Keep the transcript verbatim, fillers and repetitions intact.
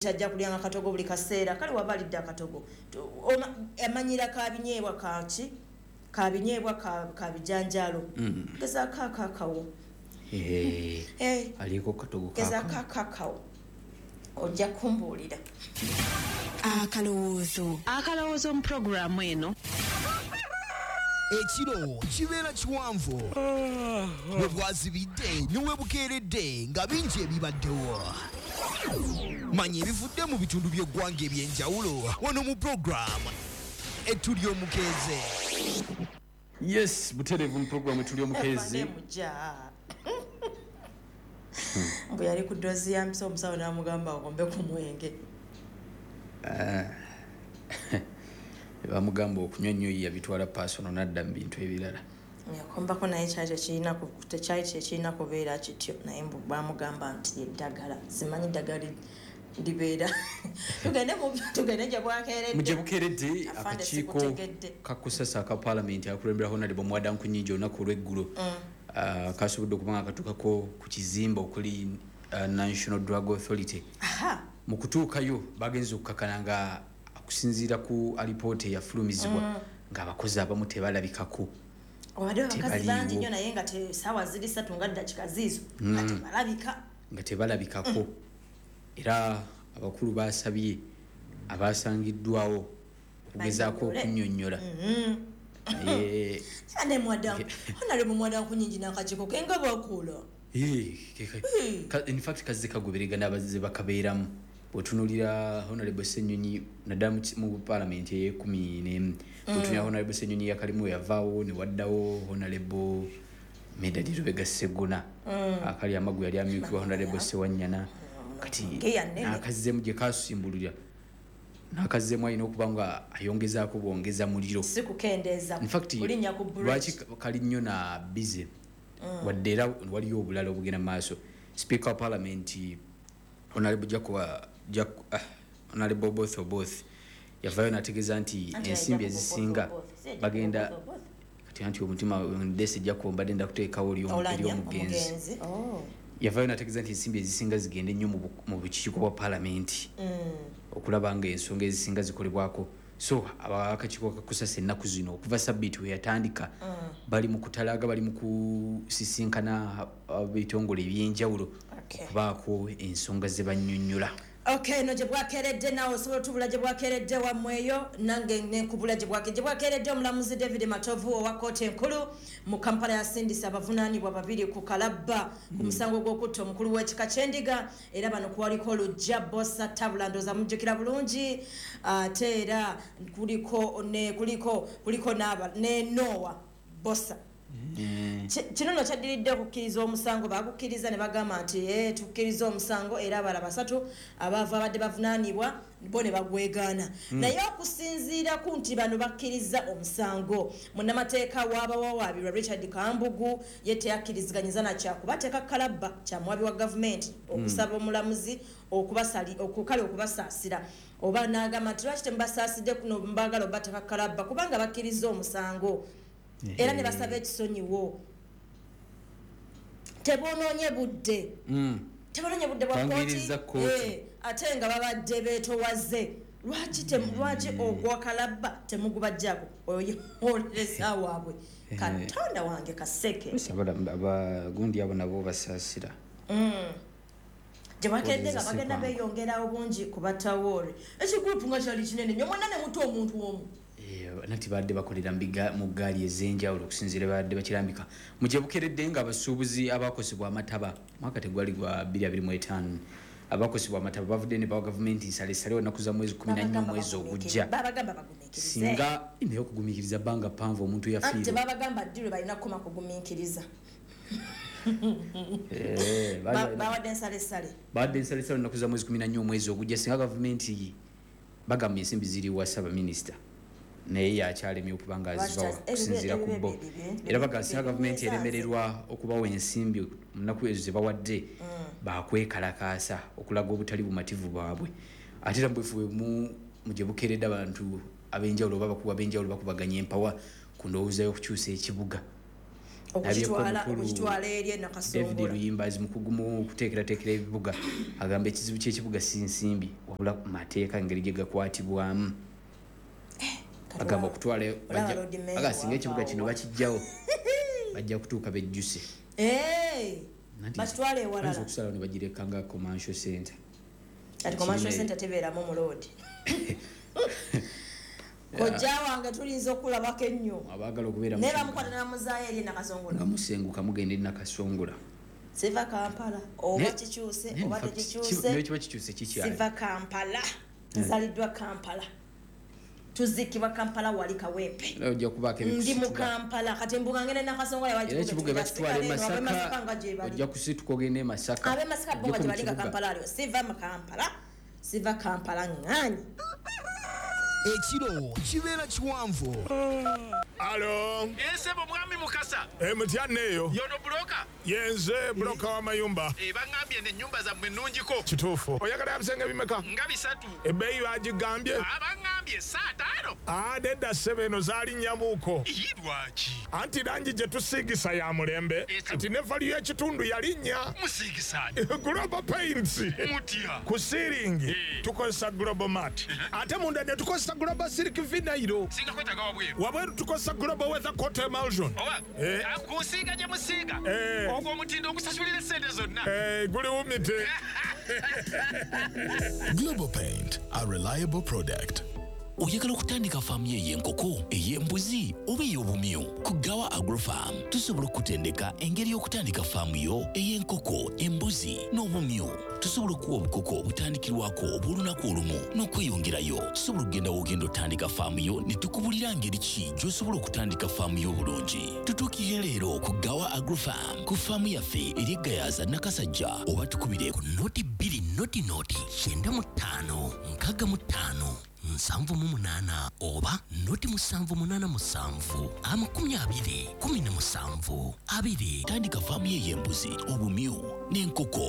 Ajja kulyanga katogo buli kaseera. Kale waba alidde akatogo, amanyira kabinyeebwa kaki, kabinyeebwa kabijanjaalo, gezaako akakawo. Aliko katogo. Gezaako akakawo, ojja kumbuulira. Akalowoozo, akalowoozo mu puroguramu eno. Ekiro kibeera kiwanvu, bwe bwazibidde ne we bukeeredde nga bingi ebibaddewo. Manya ebivudde mu bitundu by'eggwanga eby'enjawulo wano mu puroguramu Etuli Omukeeze. Yes, butereevu mu puroguramu Etuli Omukeezi. Mbu yali ku doozi ya mpiso, omusawo n'amugamba akombe ku mwenge. Bamugamba okunywa nnyo, yabitwala personal n'adda mu bintu ebirala. Yakombako, naye kyali tekirina, tekyali kyekirina kubeera kityo, naye mbu bamugamba nti eddagala, simanyi ddagala libeera. Tugende, tugende gye bwakeeredde. Mu gye bukeeredde, akakiiko kakusasa aka paalamenti akulembera Honorable Muwada Nkunyingi olunaku olw'eggulo mm. kasobodde okuba nga katuukako ku kizimbe okuli National Drug Authority. Mu kutuukayo bagenze okukakana nga okusinziira ku alipoota eyafulumizibwa mm. ng'abakozi abamu tebalabikako. Obadde abakazi bangi nnyo, naye nga saawa ziri ssatu nga ddakika ziizo nga tebalabika. Nga tebalabikako. Era abakulu basabye abasangiddwawo okugezaako okunnyonnyola. Ane Honorable Muwada Nkunyingi n'akakiiko ke nga bakola. In fact, kazze kagoberegana abazze bakabeeramu. Bw'otunuulira Honorable Ssenyonyi, naddala mu paalamenti ey'ekumi n'emu, bw'otunuulira Honorable Ssenyonyi yakalimu yavaawo ne waddawo Honorable Medard Lubega Sseggona, akali amagu yali amyukibwa Honorable Ssewanyana. Kati n'akazzemu gye kasimbulira, n'akazzemu alina okuba nga ayongezaako bwongeza muliro. Si kukendeeza. In fact, lwaki kali nnyo na busy, wadde era waliyo obulala obugenda mu maaso. Speaker wa Parliament, Honorable Honorable Oboth Oboth, yavaayo n'ategeeza nti ensimbi ezisinga bagenda kati anti omutima ndese Jacob mbadde ndakuteekawo ery'omugenzi. Yavaayo n'ategeeza nti ensimbi ezisinga zigende nnyo mu bukiiko bwa paalamenti okulaba nga ensonga ezisinga zikolebwako. So abakakiiko kakusasa ennaku zino okuva sabbiiti we yatandika bali mu kutalaga, bali mu kusisinkana ebitongole ebyenjawulo okubaako ensonga ze bannyonnyola. Okay, no gye bwakeeredde naawe osobola otubula gye bwakeeredde wammweyo, nange nenkubula gye bwakeeredde. Omulamuzi David Matovu owa kkooti enkulu mu Kampala yasindisa abavunaanibwa babiri ku kalabba ku musango gw'okutta omukulu w'ekika ky'Endiga. Era bano kwaliko Lujja Bosa Tabula, ndowooza mujjukira bulungi, ate era kuliko ne kuliko kuliko ne Noah Bosa. Kino nno kyaddiridde okukkiriza omusango. Bagukkiriza ne bagamba nti tukkiriza omusango, era abala basatu abaava abadde bavunaanibwa bo ne bagwegaana. Naye okusinziira ku nti bano bakkiriza omusango, munnamateeka w'abawawaabirwa Richard Kambugu ye teyakkiriziganyizza na kyakubateeka kalabba kyamuwabi wa gavumenti okusaba omulamuzi kale okubasaasira, oba n'agamba nti lwaki temubasaasidde kuno, mbaagala obateeka kalabba kubanga bakkiriza omusango era ne basaba ekisonyiwo, tebonoonye budde, tebonoonye budde bwa kooti, ate nga babadde beetowaze. Lwaki lwaki ogwa kalabba temugubajjako? Oyo yemuwolereza waabwe. Katonda wange, kaseke. Abagundi abo nabo basaasira. Gye bakedde nga bagenda beeyongerawo bungi ku batawoore. Ekigurupu nga kyali kinene nnyo, mwenna ne muta omuntu omu. Nati badde bakolera mu ggaali ez'enjawulo okusinziira badde bakirambika. Mu gye bukeredde nga abasuubuzi abakosebwa amataba mwaka tegwali gwa bbiri abiri mu etaano, abakosebwa amataba bavudde ne bawa gavumenti nsalesale olunaku za mwezi kumi na nnya omwezi ogujja. Babagamba bagumiikirize. Singa naye okugumiikiriza bbanga ppanvu, omuntu Anti yafiirwa. Tebabagamba ddi lwe balina kukoma kugumiikiriza. Eh, Ba- baali- bawadde ensalesale. Bawadde ensalesale olunaku za mwezi kumi na nnya omwezi ogujja singa gavumenti, bagamba ensimbi ziri wa ssaabaminisita naye yakyalemye okuba nga azibawa Lwaki okusinziira ku bo. Era bagamba singa gavumenti eremererwa okubawa ensimbi mu nnaku ezo ze bawadde, bakwekalakaasa okulaga obutali bumativu bwabwe. Ate era mubwefu bwemu mu gye bukeeredde abantu ab'enjawulo oba abakugu ab'enjawulo bakubaganya empawa ku ndowooza y'okukyusa ekibuga. Okukitwala eri David Luyimbazi mukugu mu kuteekerateekera ebibuga agamba ekizibu ky'ekibuga si nsimbi wabula mateeka engeri gye gakwatibwamu. Agamba okutwala aga singa ekibuga kino bakijjawo bajja kutuuka bejjuse. Bakitwale ewalala. Okusalawo ne bagireka nga commercial center. Kati commercial center tebeeramu muloodi. Kojja wange tulinza okulabako ennyo. Abaagala okubeera naye bamukwata ne bamuzaayo eri Nakasongola. Nga musenguka mugenda eri Nakasongola. Siva Kampala oba kikyuse oba tekikyuse. Naye kiba kikyuse kikyali. Siva Kampala. Nzaliddwa Kampala. Tuzikibwa Kampala wali Kawempe. Ojja kubaako ebikusitura. Ndi mu Kampala kati mbuga ngenda Nakasongola wali. Ekibuga bakitwala e Masaka. Ojja kusituka ogende e Masaka. Ab'e Masaka bo nga gye bali nga Kampala aliwo. Siva mu Kampala. Siva Kampala ŋŋaanyi. Ekiro kibeera kiwanvu. Alo. Ensebo mwami Mukasa. Eh mutya eyo. Yono broker. Yenze broker w'amayumba. Eh bangambye n'ennyumba zammwe nnungiko. Kituufu. Oyagala ebisenge bimeka? Nga bisatu. Ebbeeyi bagigambye. Abangambye saa ttaano. Ah nedda ssebo eno zaali nnyamuuko. Ii lwaki? Anti langi gye tusiigisa ya mulembe. Kati ne value y'ekitundu yalinnya. Musiigisa ani? Global Paints. Mutya. Ku siiringi tukozesa Global Mat. Ate munda ne tukozesa Global Silk Vinyl. Singa kwetaaga wabweru. Wabweru tukozesa Global Weather Coat Emulsion. Oba eh. Kusiiga gye musiiga. Eh. Ogwo omutindo ogusasulira essente zonna. Eh, guli wumite. Global Paint, a reliable product. Oyagala okutandika faamu yo ey'enkoko, ey'embuzi oba ey'obumyu? Ku Gawa Agrofarm tusobola okutendeka engeri y'okutandika faamu yo ey'enkoko, embuzi n'obumyu. Tusobola okuwa obukoko obutandikirwako obw'olunaku olumu n'okweyongerayo. Tusobola okugenda w'ogenda otandika faamu yo ne tukubulira ngeri ki gy'osobola okutandika faamu yo obulungi. Tutuukirire leero ku Gawa Agrofarm ku faamu yaffe eri e Gayaza Nakasajja oba tukubire ku noti bbiri noti noti kyenda mu ttaano nkaaga mu ttaano nsanvu mu munaana oba noti musanvu munaana musanvu amakumi abiri kumi na musanvu abiri. Tandika faamu ye y'embuzi, obumyu n'enkoko.